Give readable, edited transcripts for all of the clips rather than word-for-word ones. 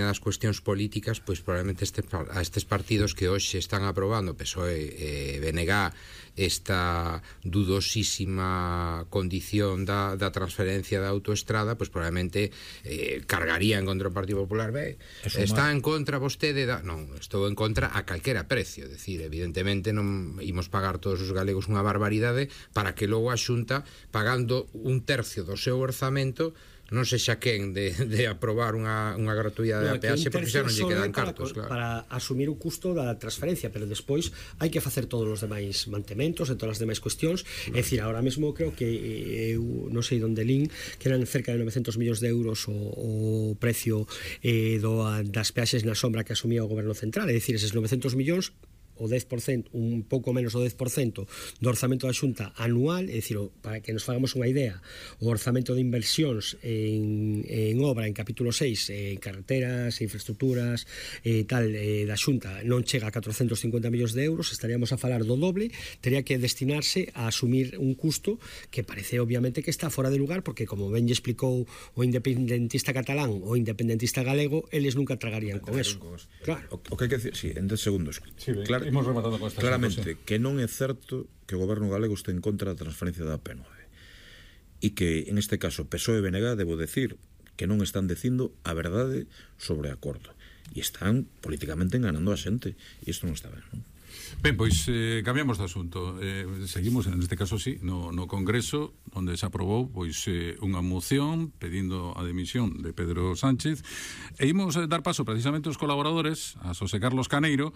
das cuestións políticas, pois probablemente a estes partidos que hoxe están aprobando, PSOE e BNG, esta dudosísima condición da transferencia da autoestrada, pois probablemente cargarían contra o Partido Popular. Está en contra vostede non, estou en contra a calquera precio, decir, evidentemente non imos pagar todos os galegos unha barbaridade para que logo a Xunta, pagando un tercio do seu orzamento, non sexa quen de aprobar unha gratuidade da peaxe, porque xa non lle quedan cartos, claro, para asumir o custo da transferencia, pero despois hai que facer todos os demais mantementos e todas as demais cuestións. É dicir, ahora mesmo creo que non sei onde lin que eran cerca de 900 millóns de euros o precio das peaxes na sombra que asumía o goberno central. É dicir, eses 900 millóns, o 10%, un pouco menos do 10% do orzamento da Xunta anual, é dicir, para que nos fagamos unha idea, o orzamento de inversións en obra, en capítulo 6, en carreteras, infraestructuras da Xunta non chega a 450 millóns de euros, estaríamos a falar do doble, teria que destinarse a asumir un custo que parece obviamente que está fora de lugar, porque como ben lle explicou o independentista catalán o independentista galego, eles nunca tragarían con eso. Claro. O que hai que decir, en 10 segundos. Sí, claro, imos rematando con esta claramente que non é certo que o goberno galego este en contra da transferencia da P9 e que en este caso PSOE e BNG, debo decir, que non están dicindo a verdade sobre o acordo e están políticamente enganando a xente e isto non está ben, non? Ben, pois cambiamos de asunto. Seguimos, en este caso sí, no Congreso, onde se aprobou pois unha moción pedindo a dimisión de Pedro Sánchez, e imos dar paso precisamente aos colaboradores, a Xosé Carlos Caneiro,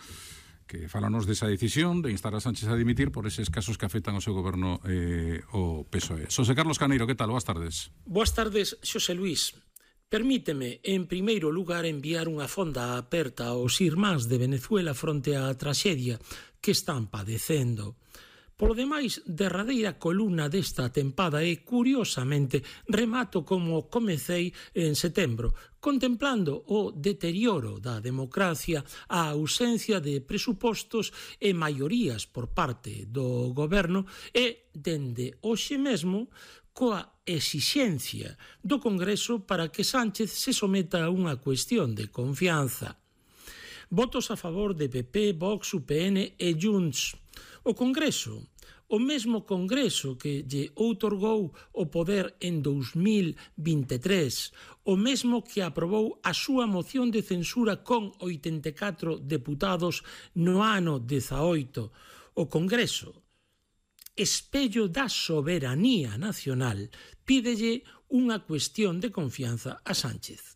que falanos desa decisión de instar a Sánchez a dimitir por eses casos que afectan ao seu goberno o PSOE. Xosé Carlos Caneiro, que tal? Boas tardes. Boas tardes, Xosé Luís. Permíteme, en primeiro lugar, enviar unha fonda aperta aos irmáns de Venezuela fronte á traxedia que están padecendo. Polo demais, derradeira columna desta tempada e, curiosamente, remato como comecei en setembro, contemplando o deterioro da democracia, a ausencia de presupostos e maiorías por parte do goberno e, dende hoxe mesmo, coa exixencia do Congreso para que Sánchez se someta a unha cuestión de confianza. Votos a favor de PP, Vox, UPN e Junts. O Congreso, o mesmo Congreso que lle outorgou o poder en 2023, o mesmo que aprobou a súa moción de censura con 84 deputados no ano 18. O Congreso, espello da soberanía nacional, pídelle unha cuestión de confianza a Sánchez.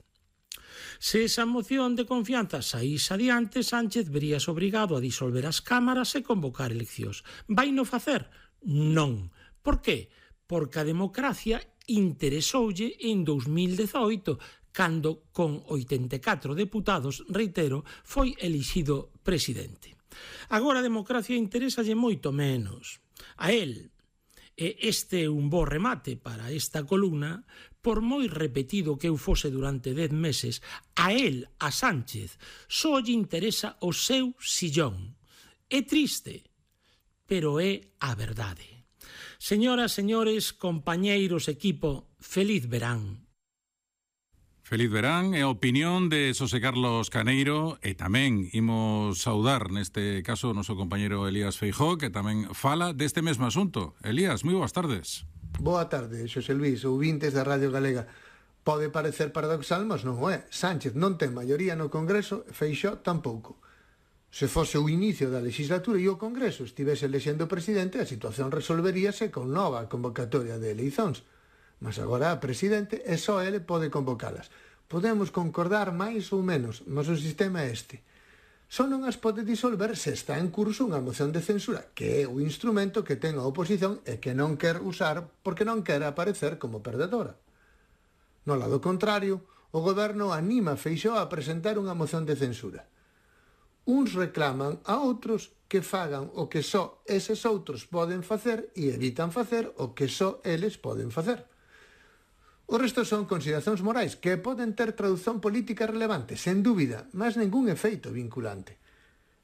Se esa moción de confianza saís adiante, Sánchez veríase obrigado a disolver as cámaras e convocar eleccións. Vai no facer? Non. Por qué? Porque a democracia interesoulle en 2018, cando con 84 deputados, reitero, foi elixido presidente. Agora a democracia interesalle moito menos. A él, e este é un bo remate para esta columna, por moi repetido que eu fose durante 10 meses, a él, a Sánchez, só lle interesa o seu sillón. É triste, pero é a verdade. Señoras, señores, compañeiros, equipo, feliz verán. Feliz verán, e a opinión de Xosé Carlos Caneiro, e tamén imos saudar neste caso o noso compañeiro Elías Feijóo, que tamén fala deste mesmo asunto. Elías, moi boas tardes. Boa tarde, Xosé Luís, ouvintes da Radio Galega. Pode parecer paradoxal, mas non o é. Sánchez non ten maioría no Congreso, Feixóo tampouco. Se fose o inicio da legislatura e o Congreso estivese elexendo presidente, a situación resolveríase con nova convocatoria de eleicións. Mas agora a presidente e só ele pode convocalas. Podemos concordar máis ou menos, mas o sistema é este. Só non as pode disolver se está en curso unha moción de censura, que é o instrumento que ten a oposición e que non quer usar porque non quer aparecer como perdedora. No lado contrario, o goberno anima a Feixóo a presentar unha moción de censura. Uns reclaman a outros que fagan o que só eses outros poden facer e evitan facer o que só eles poden facer. O resto son consideracións morais que poden ter tradución política relevante, sen dúbida, mas ningún efeito vinculante.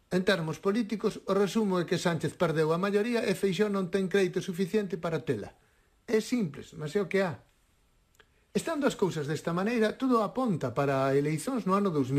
En termos políticos, o resumo é que Sánchez perdeu a maioría e Feixóo non ten crédito suficiente para tela. É simples, mas é o que há. E Estando as cousas desta maneira, todo aponta para eleicións no ano 2000.